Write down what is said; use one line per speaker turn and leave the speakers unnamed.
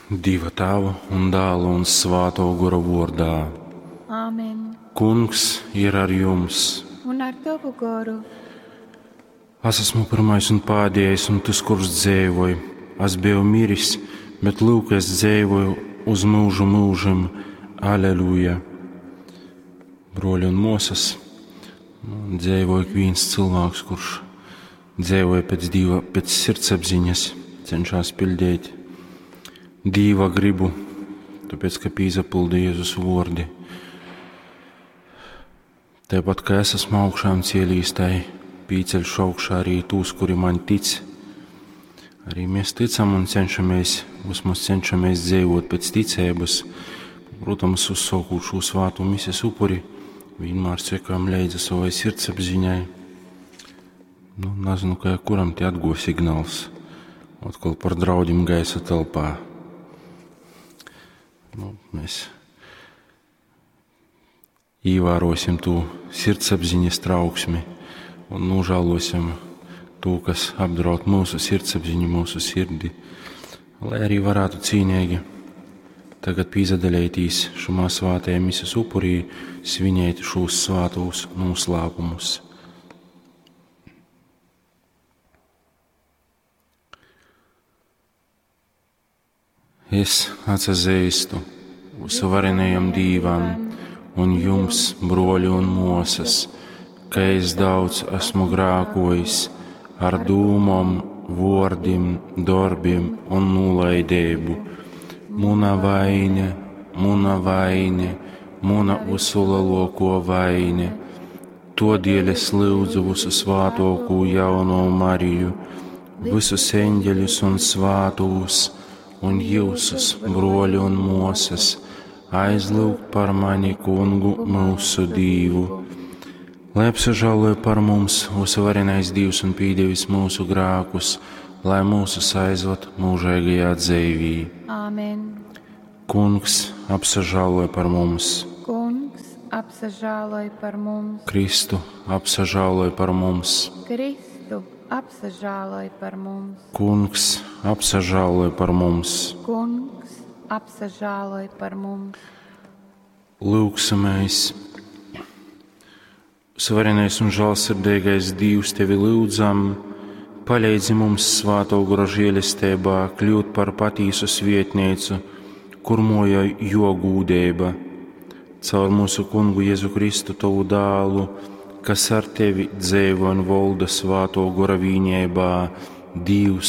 Dieva Tēva un Dēla un Svāto Gora vārdā.
Āmen.
Kungs ir ar jums.
Un ar tavu goru.
Es esmu pirmais un pēdējais, un tas, kurš dzīvoja. Es biju miris, bet lūk, es dzīvoju uz mūžu mūžam. Aleluja! Broļi un māsas, nu, dzīvoja ik viens cilvēks, kurš dzīvoja pēc Dieva, pēc sirdsapziņas, cenšas pildīt Dieva gribu, tāpēc, ka pīzapilda Jēzus vārdi. Tāpat kā es esmu augšām cielījis, tai pīceļšu augšā arī tūs, kuri man tic. Arī mēs ticam un cenšamies, vismaz cenšamies dzīvot pēc ticības. Protams, uzsākot šo svāto mises upuri, vienmēr sekojam līdzi savai sirdsapziņai. Nu, nezinu, kā kuram te atgo signāls. Atkal par draudiem gaisa telpā. Nu, mēs ievērosim to sirdsapziņas trauksmi un nožēlosim to, kas apdraud mūsu sirdsapziņu, mūsu sirdi, lai arī varētu cīnīgi tagad pīzadalētīs šumā svātajā mises upurī, svinēt šos svātos noslēpumus. Es atsazīstu visvarenajam Dīvam un jums, broļi un mosas, ka es daudz esmu grākojis ar dūmom, vōrdim, dorbim un nolaidību. Muna vaine, muna vaine, muna visulielāko vaine. Todēļ es lūdzu visu svātoko jauno Mariju, visus eņģeļus un svātos, un jūsus, broļi un mosas, aizlūgt par mani kungu mūsu Dīvu. Lai apsažāloja par mums visvarenais Dievs un pīdevis mūsu grākus, lai mūsu aizved mūžīgajā dzīvī.
Āmen.
Kungs apsažāloja par mums,
Kungs apsažāloj par mums.
Kristu apsažāloja par mums,
Kristu apsažāloj par mums.
Kungs apsažāloja par mums.
Kungs apsažāloj par mums.
Lūksimies! Svarenais un žēlsirdīgais Dievs, tevi lūdzam, palīdzi mums svāto gora žēlestībā kļūt par patīsu svietnīcu, kur moja jo gūdība. Caur mūsu kungu Jēzu Kristu, tavu dālu, kas ar tevi dzīvo un valda svāto gora vīņībā, Dievs.